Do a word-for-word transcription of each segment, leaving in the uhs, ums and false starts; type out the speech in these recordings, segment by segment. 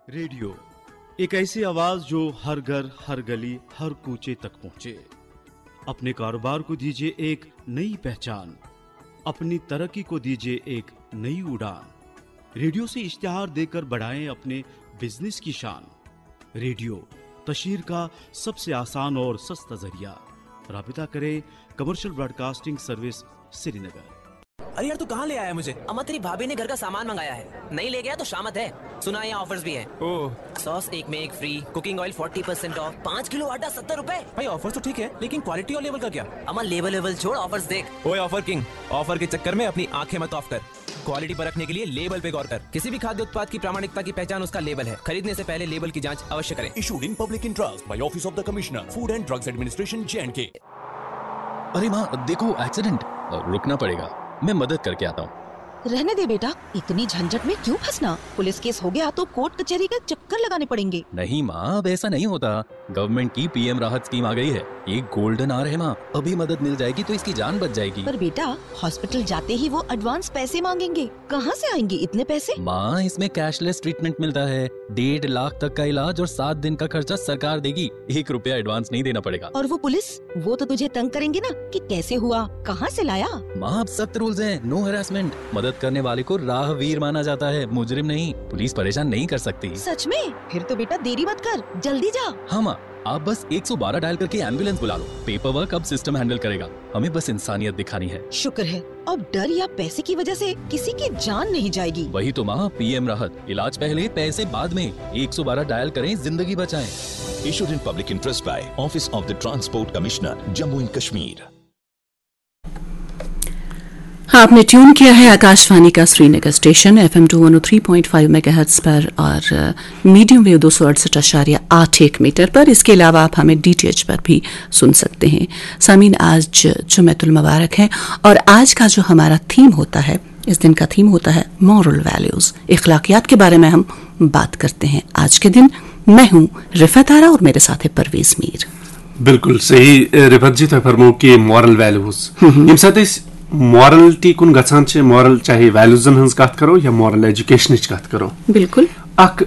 Radio, एक ऐसी आवाज जो हर घर, हर गली, हर कूचे तक पहुंचे। अपने कारोबार को दीजिए एक नई पहचान, अपनी तरक्की को दीजिए एक नई उड़ान। रेडियो से इश्तिहार देकर बढ़ाएं अपने बिजनेस की शान। रेडियो, तशहीर का सबसे आसान और सस्ता जरिया। राबिता करें कमर्शियल ब्रॉडकास्टिंग सर्विस, श्रीनगर। अरे यार, तू कहाँ ले आया मुझे? अम्मा, तेरी भाभी ने घर का सामान मंगाया है, नहीं ले गया तो शामत है। सुना है यहाँ ऑफर्स भी है। ओह। सॉस एक में एक free, cooking oil forty percent of, पाँच किलो आटा सत्तर रुपए। भाई, ऑफर्स तो ठीक है, लेकिन क्वालिटी और लेवल का क्या? अम्मा, लेवल लेवल छोड़, ऑफर्स देख। ओए ऑफर किंग, ऑफर के चक्कर में अपनी आंखें मत ऑफ कर। क्वालिटी परखने के लिए लेबल पे गौर कर। किसी भी खाद्य उत्पाद की प्रामाणिकता की पहचान उसका लेबल है। खरीदने से पहले लेबल की जांच अवश्य करें। Issued in public interest by Office of the Commissioner, Food and Drugs Administration, J and K. अरे माँ, देखो एक्सीडेंट। रुकना पड़ेगा, मैं मदद करके आता हूँ। रहने दे बेटा, इतनी झंझट में क्यों फंसना? पुलिस केस हो गया तो कोर्ट कचहरी का चक्कर लगाने पड़ेंगे। नहीं माँ, अब ऐसा नहीं होता। गवर्नमेंट की पीएम राहत स्कीम आ गई है। ये गोल्डन आवर है माँ, अभी मदद मिल जाएगी तो इसकी जान बच जाएगी। पर बेटा, हॉस्पिटल जाते ही वो एडवांस पैसे मांगेंगे, कहाँ से आएंगे इतने पैसे? माँ, इसमें कैशलेस ट्रीटमेंट मिलता है, डेढ़ लाख तक का इलाज और सात दिन का खर्चा सरकार देगी। एक रुपया एडवांस नहीं देना पड़ेगा। और वो पुलिस, वो तो तुझे तंग करेंगे ना कि कैसे हुआ, कहाँ से लाया। माँ, अब सख्त रूल्स हैं, नो हरासमेंट। मदद करने वाले को राहवीर माना जाता है, मुजरिम नहीं। पुलिस परेशान नहीं कर सकती। सच में? फिर तो बेटा देरी मत कर, जल्दी जा। हाँ माँ, आप बस एक सौ बारह डायल करके एम्बुलेंस बुला लो। पेपर वर्क अब सिस्टम हैंडल करेगा, हमें बस इंसानियत दिखानी है। शुक्र है, अब डर या पैसे की वजह से किसी की जान नहीं जाएगी। वही तो माँ, पीएम राहत, इलाज पहले, पैसे बाद में। एक सौ बारह डायल करें, जिंदगी बचाएं। Issued in public interest by Office of the Transport Commissioner, Jammu and Kashmir. हाँ, आपने ट्यून किया है आकाशवाणी का Srinagar station FM two one O three point five megahertz पर और मीडियम वेव दो सौ अड़सठ आशार्य आठ एक मीटर पर। इसके अलावा आप हमें डीटीएच पर भी सुन सकते हैं। सामीन, आज जुमेतुल मुबारक है और आज का जो हमारा थीम होता है, इस दिन का थीम होता है मॉरल वैल्यूज, इखलाकियात के बारे में हम बात करते हैं आज के दिन। मैं हूं रिफत आरा और मेरे साथ है परवेज मीर। बिल्कुल सही, रिफत जी, तुम फरमो कि मॉरल वैल्यूज, यम साथ इस मॉरलिटी कुन गछान छे, मॉरल चाहे वैल्यूजन हंस कत करो या मॉरल एजुकेशन कत करो, बिल्कुल। अक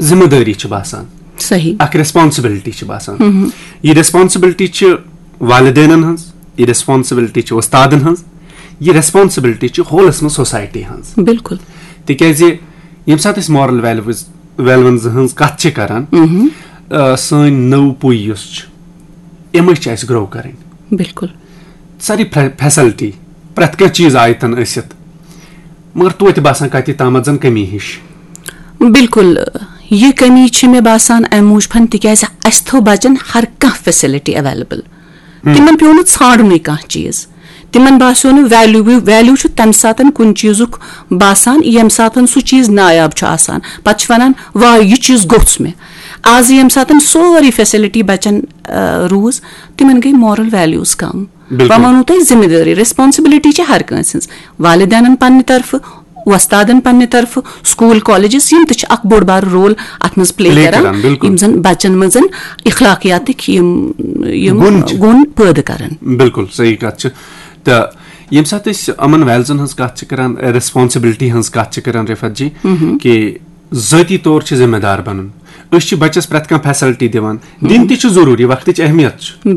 जिम्मेदारी छ बासान, सही। अक रेस्पॉन्सिबिलिटी छ बासान। ये रेस्पॉन्सिबिलिटी छ वालिदेनन हंस, ये रेस्पॉन्सिबिलिटी छ उस्तादन हंस, ये रेस्पॉन्सिबिलिटी छ होलस में सोसाइटी हंस। बिल्कुल। तिकैजे यम साथ इस मॉरल वैल्यूज, वैल्यूज हंस कत छ करन, अ, सैन नव पुई युस छ, इमे छ अस ग्रो करन। बिल्कुल। सारी फे-, फैसिलिटी, प्रत कह चीज आयतन असित, मगर तोत बासान कति तामत जन कमी हिश। बिल्कुल, ये कमी छ मे बासान अम मूजफन, तिकैज अस थो बचन हर कह फैसिलिटी अवेलेबल। तिमन प्यो न छाड़ुन कह चीज, तिमन बासो न वैल्यू। वैल्यू छु तम सातन कुन चीजुक बासान, यम सातन सु चीज नायाब छु आसान। पत छु वनान, वाह, ये चीज गोछ मे। आज यम सातन सोरी फैसिलिटी बचन, अ, रूज, तिमन गई मॉरल वैल्यूज कम। बिल्कुल। बह वनो तोह जिम्मेदारी, रेस्पॉन्सिबिलिटी छ हर कंस हंस। वालिदेनन पन्ने तरफ, वस्तादन पन्ने तरफ, स्कूल, कॉलेजेस, यम तह अख बोड़ बार रोल अथ मज प्ले Play करन, करन, बिल्कुल। यम जन बचन मज इखलाकियातिक यम, यम गुण छ। गुण पैदा करन। बिल्कुल सही कत छ। त यम साथ अस अमन वैल्यूजन हंस कत छ करन, रेस्पॉन्सिबिलिटी हंस कत छ करन, रिफत जी, कि ज़ाती तौर छ जिम्मेदार बनन। अस छ बच्चस प्रत कह फैसिलिटी दिवान, दिन तह छ जरूरी, वक्त च अहमियत छ।